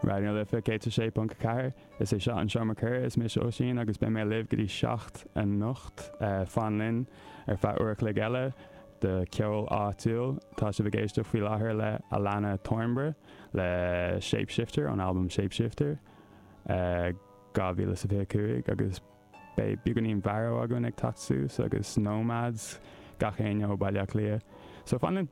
Raidió na Life 106.4, Is é seo an Seomra Comhrá, is mise Oisín agus beidh mé libh go dtí 7 anocht. Fan linn ar feadh uair a chloig eile de cheol áitiúil. Tá sibh ag éisteacht faoi láthair le Alannah Thornburgh le Shapeshifter ón albam Shapeshifter 2025 agus beidh beagáinín Mharo againn ag teacht suas agus Nomads, gach éinne ó Baile Átha Cliath. So fan linn!